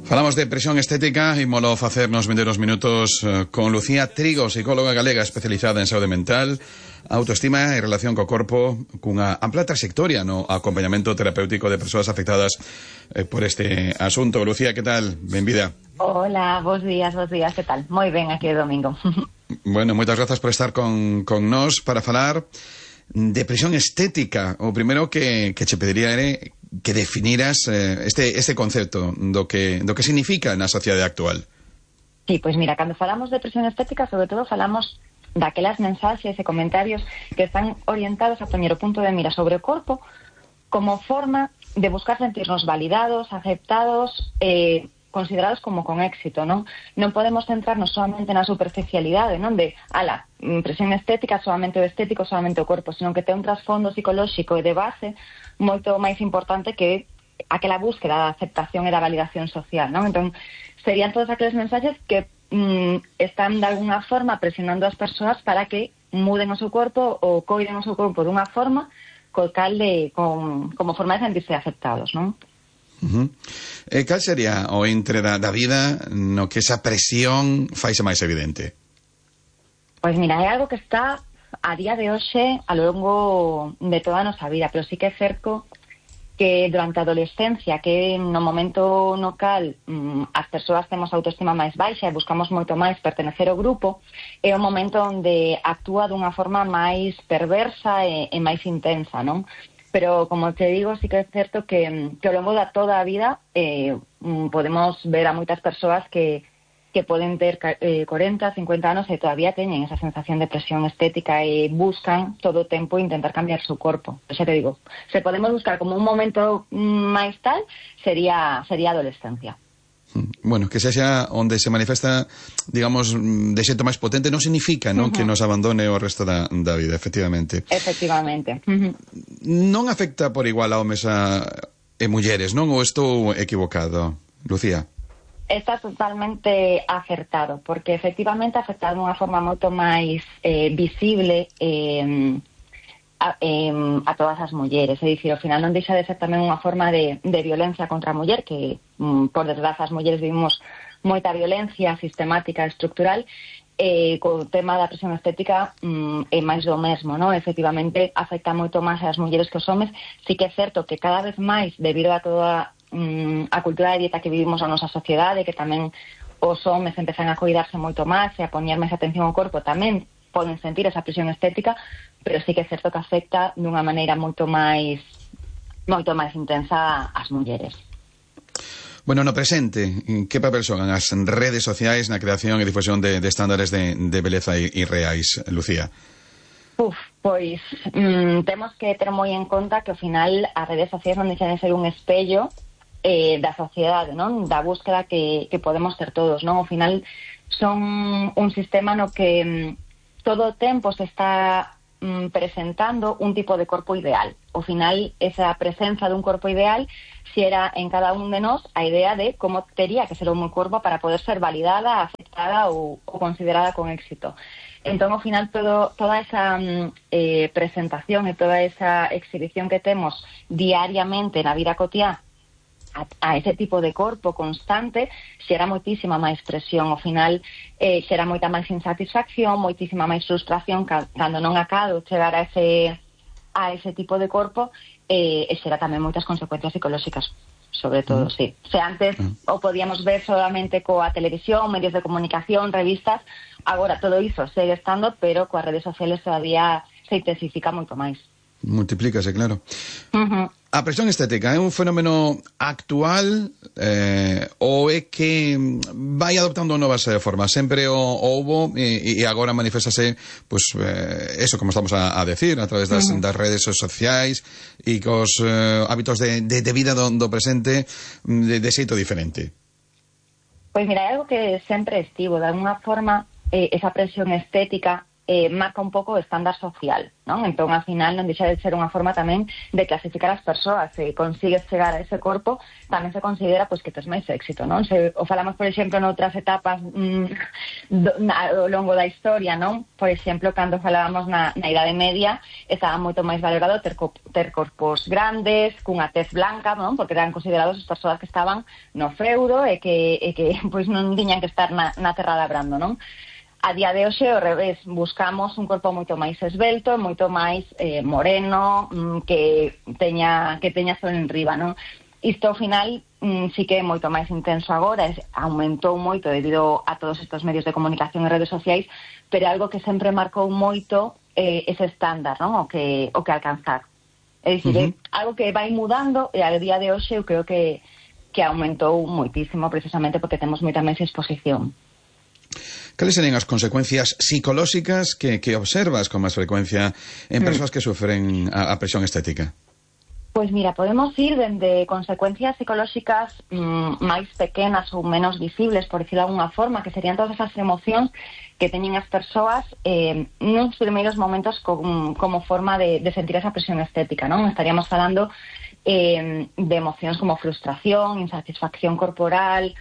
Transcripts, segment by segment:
Falamos de presión estética e molo facernos vender uns minutos con Lucía Trigo, psicóloga galega especializada en saúde mental, autoestima e relación co corpo, cunha ampla trayectoria no acompañamento terapéutico de persoas afectadas por este asunto. Lucía, que tal? Benvida. Hola, bos días, que tal? Moi ben aquí o domingo. Bueno, moitas grazas por estar con nós para falar de presión estética. O primeiro que che pediría era que definiras este concepto do que significa na sociedade actual. Sí, pois mira, cando falamos de presión estética, sobre todo falamos daquelas mensaxes e comentarios que están orientados a poñer o punto de mira sobre o corpo como forma de buscar sentirnos validados, aceptados, considerados como con éxito, non? Non podemos centrarnos solamente na superficialidade, non? De, presión estética, solamente o estético, solamente o corpo, senón que ten un trasfondo psicolóxico e de base moito máis importante que aquela búsqueda da aceptación e da validación social, non? Entón, serían todos aqueles mensaxes que están de alguna forma presionando as persoas para que muden o seu corpo ou coiden o seu corpo dunha forma como forma de sentirse aceptados, non? Cal sería o entre da vida no que esa presión faise máis evidente? Pois mira, é algo que está a día de hoxe a longo de toda a nosa vida, pero sí que é certo que durante a adolescencia, que no momento no cal as persoas temos autoestima máis baixa e buscamos moito máis pertenecer ao grupo, é o momento onde actúa dunha forma máis perversa e máis intensa, non? Pero, como te digo, sí que é certo que ao longo da toda a vida podemos ver a moitas persoas que poden ter 40, 50 anos e todavía teñen esa sensación de presión estética e buscan todo o tempo intentar cambiar o seu corpo. Xa te digo, se podemos buscar como un momento máis tal, sería a adolescencia. Bueno, que sexa onde se manifesta, digamos, de xeito máis potente, non significa, non, que nos abandone o resto da vida, efectivamente. Efectivamente. Non afecta por igual a homes e mulleres, non? Ou estou equivocado, Lucía? Está totalmente acertado, porque efectivamente afecta de unha forma moito máis visible a todas as mulleres. É dicir, ao final non deixa de ser tamén unha forma de violencia contra a muller, que por desgraza as mulleres vivimos moita violencia sistemática e estructural, co tema da presión estética é máis do mesmo, non? Efectivamente afecta moito máis as mulleres que os homes. Sí que é certo que cada vez máis, debido a toda a cultura de dieta que vivimos na nosa sociedade, que tamén os homes empezan a cuidarse moito máis e a poñer máis atención ao corpo, tamén poden sentir esa presión estética, pero sí que é certo que afecta dunha maneira moito máis intensa ás mulleres. Bueno, no presente, que papel xogan as redes sociais na creación e difusión de estándares de beleza irreais, Lucía? Pois temos que ter moi en conta que ao final as redes sociais non deixan de ser un espello da sociedade, non? Da búsqueda que podemos ter todos, non? Ao final son un sistema no que todo o tempo se está presentando un tipo de corpo ideal. Ao final, esa presenza dun corpo ideal xera en cada un de nós a idea de como tería que ser o meu corpo para poder ser validada, aceptada ou considerada con éxito. Entón, ao final, toda esa presentación e toda esa exhibición que temos diariamente na vida cotiá a ese tipo de corpo constante xera moitísima máis presión. Ao final xera moita máis insatisfacción, moitísima máis frustración cando non acado chegar a ese tipo de corpo, e xera tamén moitas consecuencias psicolóxicas, sobre todo, sí. Se antes o podíamos ver solamente coa televisión, medios de comunicación, revistas, agora todo iso segue estando, pero coas redes sociales todavía se intensifica moito máis. Multiplícase, claro. A presión estética é un fenómeno actual ou é que vai adoptando novas formas? Sempre o houbo e agora manifestase, pues, eso, como estamos a decir, a través das redes sociais e cos hábitos de vida do presente de xeito diferente. Pois mira, é algo que sempre estivo, de alguna forma esa presión estética marca un pouco o estándar social, non? Entón, ao final, non deixa de ser unha forma tamén de clasificar as persoas. Se consigues chegar a ese corpo, tamén se considera pois que tes máis éxito, non? Se o falamos, por exemplo, noutras etapas ao longo da historia, non? Por exemplo, cando falábamos na Idade Media, estaba moito máis valorado ter corpos grandes, cunha tez blanca, non? Porque eran considerados as persoas que estaban no feudo e que pois non tiñan que estar na terra labrando, non? A día de hoxe, ao revés, buscamos un corpo moito máis esbelto, moito máis moreno, que teña sol en riba, non? Isto, ao final, sí que é moito máis intenso agora, aumentou moito debido a todos estes medios de comunicación e redes sociais, pero é algo que sempre marcou moito ese estándar, non? O que alcanzar. É dicir, algo que vai mudando e a día de hoxe eu creo que aumentou moitísimo precisamente porque temos moita máis exposición. Cales serían as consecuencias psicolóxicas que observas con máis frecuencia en persoas que sufren a presión estética? Pois mira, podemos ir dende consecuencias psicolóxicas máis pequenas ou menos visibles, por decirlo de alguna forma, que serían todas esas emocións que teñen as persoas nos primeiros momentos como forma de sentir esa presión estética, non? Estaríamos falando de emocións como frustración, insatisfacción corporal,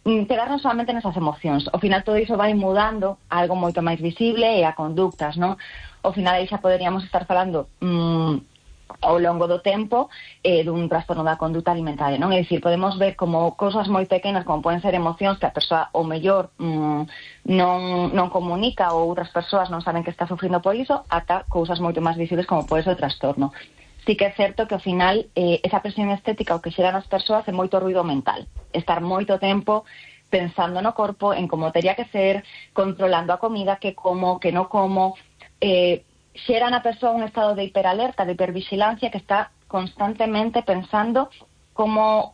quedarnos solamente nesas emocións. Ao final todo iso vai mudando a algo moito máis visible e a conductas, non? Ao final aí xa poderíamos estar falando ao longo do tempo dun trastorno da conduta alimentaria, non? É dicir, podemos ver como cousas moi pequenas, como poden ser emocións que a persoa o mellor non comunica ou outras persoas non saben que está sufrindo por iso, ata cousas moito máis visibles como pode ser o trastorno. Sí que é certo que ao final esa presión estética o que xera nas persoas é moito ruido mental, estar moito tempo pensando no corpo, en como teria que ser, controlando a comida, que como, que non como, xera na persoa un estado de hiperalerta, de hipervigilancia, que está constantemente pensando como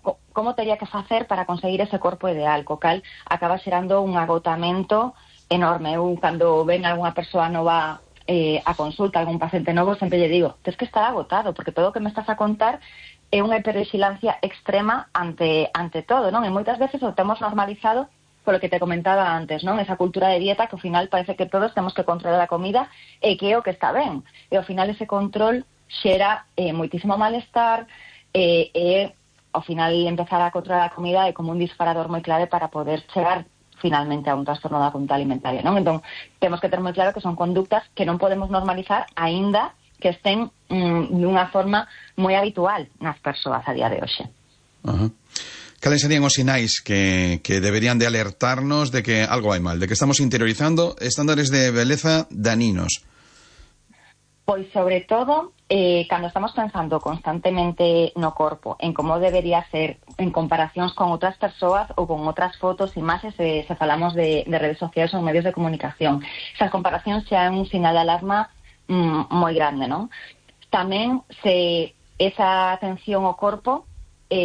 teria que facer para conseguir ese corpo ideal, co cal acaba xerando un agotamento enorme. Eu, cando ven algunha persoa nova a consulta, algún paciente novo, sempre lle digo, tens que estar agotado, porque todo o que me estás a contar é unha hipervigilancia extrema ante todo, non? E moitas veces o temos normalizado polo que te comentaba antes, non? Esa cultura de dieta que ao final parece que todos temos que controlar a comida e que é o que está ben. E ao final ese control xera moitísimo malestar e ao final empezar a controlar a comida é como un disparador moi clave para poder chegar finalmente a un trastorno da conduta alimentaria, non? Entón, temos que ter moi claro que son conductas que non podemos normalizar aínda que estén dunha forma moi habitual nas persoas a día de hoxe. Cales serían os sinais que deberían de alertarnos de que algo vai mal, de que estamos interiorizando estándares de beleza daninos? Pois, sobre todo, cando estamos pensando constantemente no corpo, en como debería ser en comparacións con outras persoas ou con outras fotos, imaxes, se falamos de redes sociais ou medios de comunicación. Esas comparacións xa é un sinal de alarma moi grande, non? Tamén, se esa atención ao corpo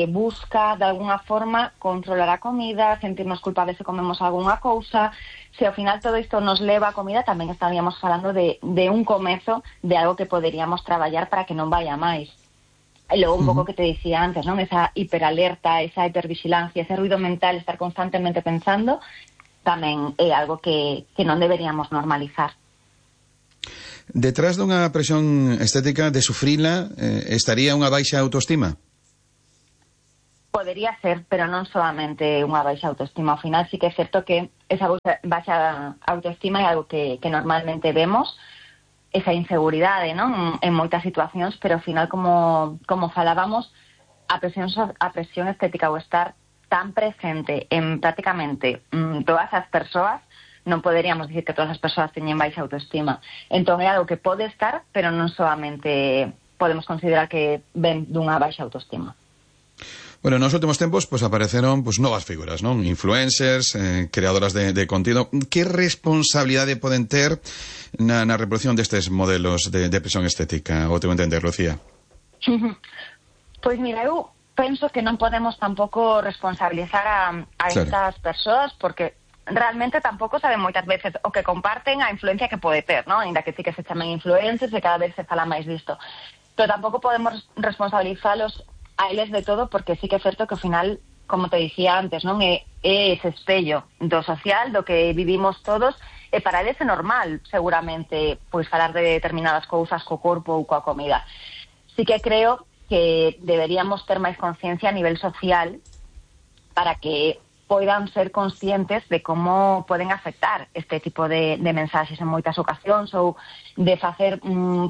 busca, de alguna forma, controlar a comida, sentirnos culpables se comemos algunha cousa. Se ao final todo isto nos leva a comida, tamén estaríamos falando de un comezo de algo que poderíamos traballar para que non vaya máis. E logo un pouco que te dicía antes, non? Esa hiperalerta, esa hipervigilancia, ese ruido mental, estar constantemente pensando, tamén é algo que non deberíamos normalizar. Detrás dunha presión estética de sufrila estaría unha baixa autoestima? Podería ser, pero non solamente unha baixa autoestima. Ao final sí que é certo que esa baixa autoestima é algo que normalmente vemos, esa inseguridade, non? En moitas situacións, pero ao final, como falábamos, a presión estética, o estar tan presente en prácticamente todas as persoas, non poderíamos dicir que todas as persoas teñen baixa autoestima. Entón é algo que pode estar, pero non solamente podemos considerar que ven dunha baixa autoestima. Bueno, nos últimos tempos apareceron novas figuras, non? Influencers, creadoras de contido. Que responsabilidade poden ter na reproducción destes modelos de presión estética, o teu entender, Lucía? Pois mira, eu penso que non podemos tampouco responsabilizar a estas persoas, porque realmente tampouco saben moitas veces o que comparten, a influencia que pode ter, non? Ainda que sí que se chamen influencers e cada vez se fala máis disto. Pero tampouco podemos responsabilizalos a eles de todo, porque sí que é certo que ao final como te dicía antes, non é ese espello do social, do que vivimos todos, e para eles é normal, seguramente, pois falar de determinadas cousas co corpo ou coa comida. Sí que creo que deberíamos ter máis conciencia a nivel social para que poidan ser conscientes de como poden afectar este tipo de mensaxes en moitas ocasións, ou de facer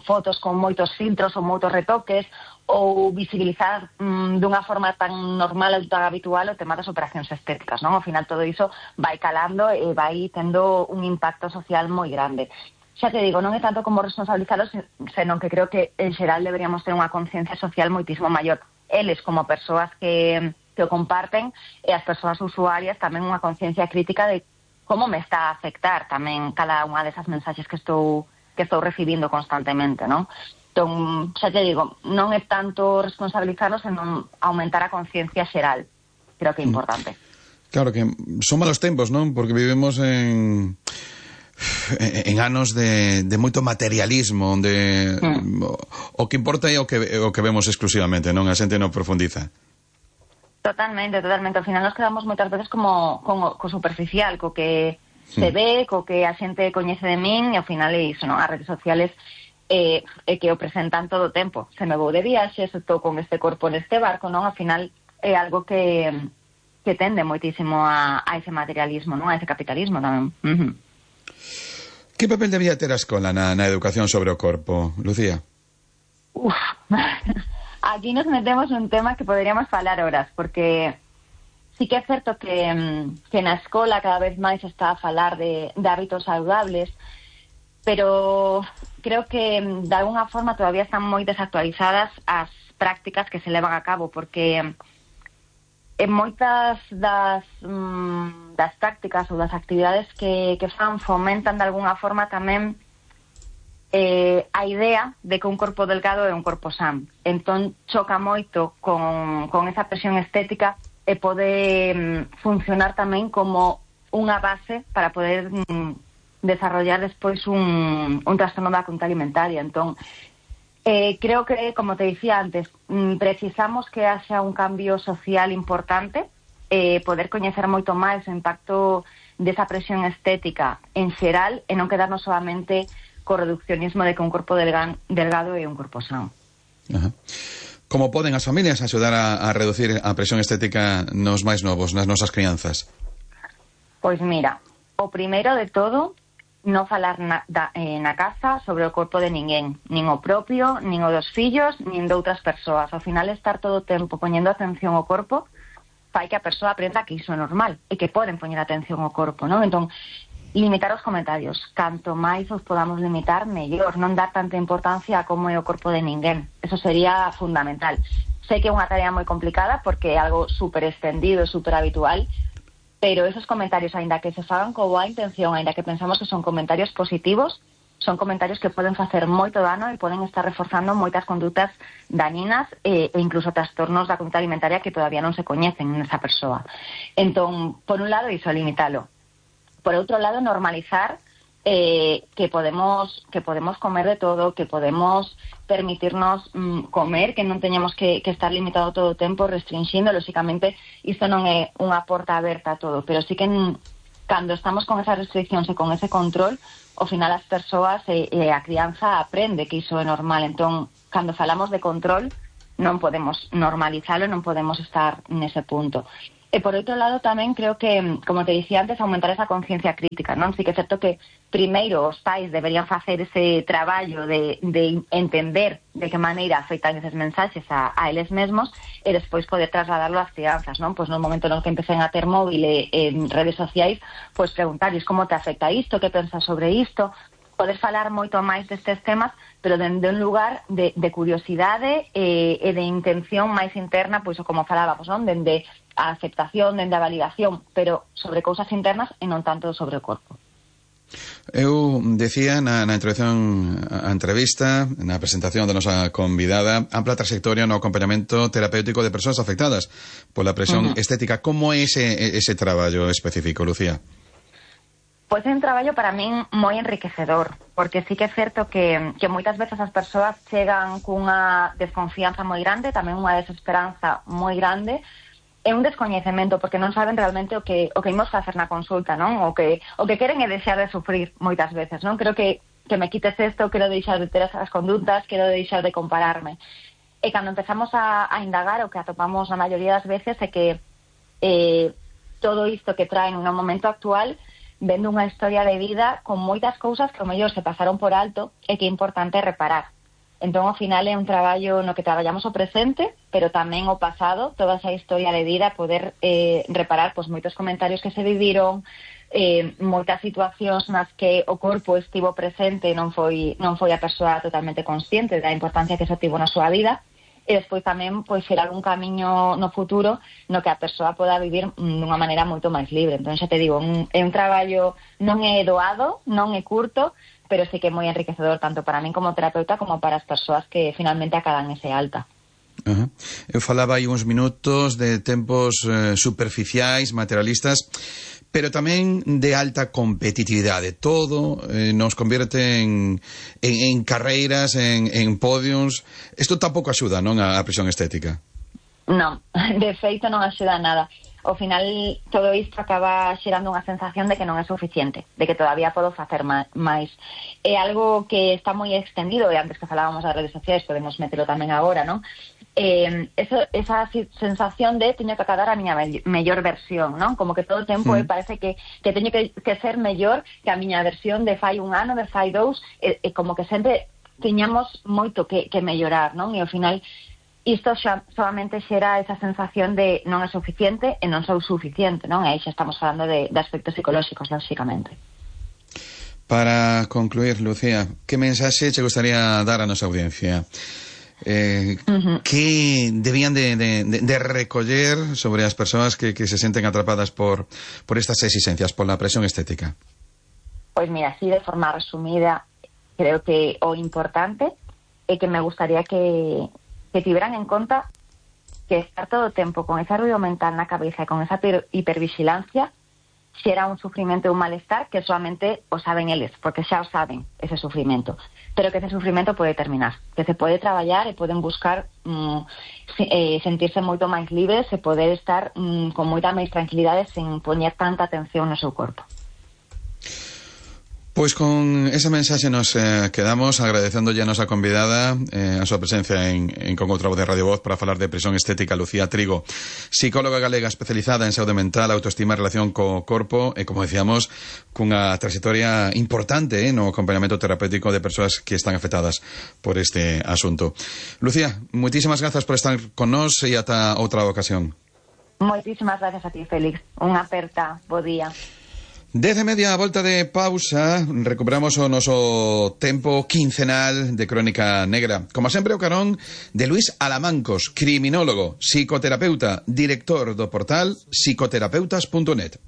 fotos con moitos filtros ou moitos retoques, ou visibilizar dunha forma tan normal ou tan habitual o tema das operacións estéticas, non? Ao final todo iso vai calando e vai tendo un impacto social moi grande. Xa te digo, non é tanto como responsabilizalos, senón que creo que en xeral deberíamos ter unha conciencia social moitísimo maior. Eles como persoas que o comparten, e as persoas usuarias tamén unha conciencia crítica de como me está a afectar tamén cada unha desas mensaxes que estou recibindo constantemente, non? Entón, xa te digo, non é tanto responsabilizarnos, senón aumentar a conciencia xeral. Creo que é importante. Claro que son malos tempos, non? Porque vivimos en anos de moito materialismo, onde o que importa é o que vemos exclusivamente, non? A xente non profundiza. Totalmente. Ao final nos quedamos moitas veces como co superficial, co que se ve, co que a xente coñece de min, e ao final é iso, non? As redes sociales é que o presentan todo o tempo. Se me vou de viaxe, se estou con este corpo neste barco, non? Ao final é algo que tende moitísimo a ese materialismo, non? A ese capitalismo tamén. Que papel debía ter a escola na educación sobre o corpo, Lucía? Aquí nos metemos nun tema que poderíamos falar horas, porque sí que é certo que na escola cada vez máis está a falar de hábitos saludables, pero creo que de alguna forma todavía están moi desactualizadas as prácticas que se levan a cabo, porque en moitas das prácticas ou das actividades que fan fomentan de alguna forma tamén a idea de que un corpo delgado é un corpo san. Entón choca moito con esa presión estética e pode funcionar tamén como unha base para poder desarrollar despois un trastorno da conducta alimentaria. Entón creo que, como te dicía antes, precisamos que haxa un cambio social importante, poder coñecer moito máis o impacto desa presión estética en xeral e non quedarnos solamente co reduccionismo de que un corpo delgado é un corpo sano. Como poden as familias axudar a reducir a presión estética nos máis novos, nas nosas crianzas? Pois mira, o primeiro de todo, non falar na casa sobre o corpo de ninguén, nin o propio, nin o dos fillos, nin de outras persoas. Ao final, estar todo o tempo poñendo atención ao corpo fai que a persoa aprenda que iso é normal e que poden poñer atención ao corpo, non? Entón, limitar os comentarios. Canto máis os podamos limitar, mellor. Non dar tanta importancia a como é o corpo de ninguén. Eso sería fundamental. Sei que é unha tarea moi complicada porque é algo super extendido, super habitual, pero esos comentarios, aínda que se fagan con boa intención, aínda que pensamos que son comentarios positivos, son comentarios que poden facer moito dano e poden estar reforzando moitas condutas dañinas e incluso trastornos da conduta alimentaria que todavía non se coñecen nesa persoa. Entón, por un lado, iso, limitalo. Por outro lado, normalizar que podemos comer de todo, que podemos permitirnos comer, que non teñamos que estar limitado todo o tempo, restringindo. Lóxicamente, isto non é unha porta aberta a todo, pero sí que cando estamos con esas restriccións e con ese control, ao final as persoas e a crianza aprende que iso é normal. Entón, cando falamos de control, non podemos normalizalo, non podemos estar nese punto. E por outro lado tamén creo que, como te dicía antes, aumentar esa conciencia crítica, non? Sí que é certo que primeiro os pais deberían facer ese traballo de entender de que maneira afectan eses mensaxes a eles mesmos e despois poder trasladarlo ás crianzas, non? Pois no momento no que empecen a ter móvil en redes sociais, pois preguntarles como te afecta isto, que pensas sobre isto, poder falar moito máis destes temas, pero dende un lugar de curiosidade e de intención máis interna, pois como falábamos, non? Dende a aceptación, dende a validación, pero sobre cousas internas e non tanto sobre o corpo. Eu decía na introducción a entrevista, na presentación da nosa convidada, ampla trayectoria no acompañamento terapéutico de persoas afectadas pola presión estética. Como é ese traballo específico, Lucía? Pois é un traballo para min moi enriquecedor, porque sí que é certo que moitas veces as persoas chegan cunha desconfianza moi grande, tamén unha desesperanza moi grande, é un descoñecemento, porque non saben realmente o que imos facer na consulta, non? O que queren é deixar de sufrir moitas veces, non? Creo que me quites isto, quero deixar de ter esas condutas, quero deixar de compararme. E cando empezamos a indagar, o que atopamos a maioría das veces é que todo isto que traen no momento actual vendo unha historia de vida con moitas cousas que ao mellor se pasaron por alto e que é importante reparar. Entón, ao final, é un traballo no que traballamos o presente, pero tamén o pasado, toda esa historia de vida, poder reparar pois moitos comentarios que se viviron, moitas situacións nas que o corpo estivo presente e non foi a persoa totalmente consciente da importancia que eso tivo na súa vida, e despois tamén pois xerar un camiño no futuro no que a persoa poda vivir dunha maneira moito máis libre. Entón, xa te digo, é un traballo non é doado, non é curto, pero sí que é moi enriquecedor tanto para min como terapeuta como para as persoas que finalmente acadan ese alta. Eu falaba aí uns minutos de tempos superficiais, materialistas, pero tamén de alta competitividade. Todo nos convierte en carreiras, en podiums. Isto tampouco axuda, non, a presión estética? Non, de feito non axuda nada. Ao final, todo isto acaba xerando unha sensación de que non é suficiente, de que todavía podo facer máis. É algo que está moi extendido, e antes que falábamos das redes sociais, podemos metelo tamén agora, non? Esa sensación de teño que acadar a miña mellor versión, non? Como que todo o tempo parece que teño que ser mellor que a miña versión de fai un ano, de fai dous, como que sempre teñamos moito que mellorar, non? E ao final isto xa solamente xera esa sensación de non é suficiente e non sou suficiente, non? E aí xa estamos falando de aspectos psicolóxicos, lógicamente. Para concluir, Lucía, que mensaxe che gustaría dar a nosa audiencia? Que debían de recoller sobre as persoas que se senten atrapadas por estas exigencias, por la presión estética? Pois mira, así de forma resumida, creo que o importante é que me gustaría que tiveran en conta que estar todo o tempo con ese ruido mental na cabeza e con esa hipervigilancia xera un sufrimento e un malestar que solamente o saben eles, porque xa o saben ese sufrimento, pero que ese sufrimento pode terminar, que se pode traballar e poden buscar sentirse moito máis libres e poder estar con moita máis tranquilidade sen poñer tanta atención no seu corpo. Pois con esa mensaxe nos quedamos agradecéndolle a nosa convidada a súa presencia en Con outra voz de Radio Voz para falar de presión estética. Lucía Trigo, psicóloga galega especializada en saúde mental, autoestima e relación co corpo e, como decíamos, cunha trayectoria importante no acompañamento terapéutico de persoas que están afectadas por este asunto. Lucía, moitísimas grazas por estar con nós e ata outra ocasión. Moitísimas gracias a ti, Félix. Unha aperta, bo día. 10:30, a volta de pausa, recuperamos o noso tempo quincenal de Crónica Negra. Como sempre, o carón de Luís Alamancos, criminólogo, psicoterapeuta, director do portal psicoterapeutas.net.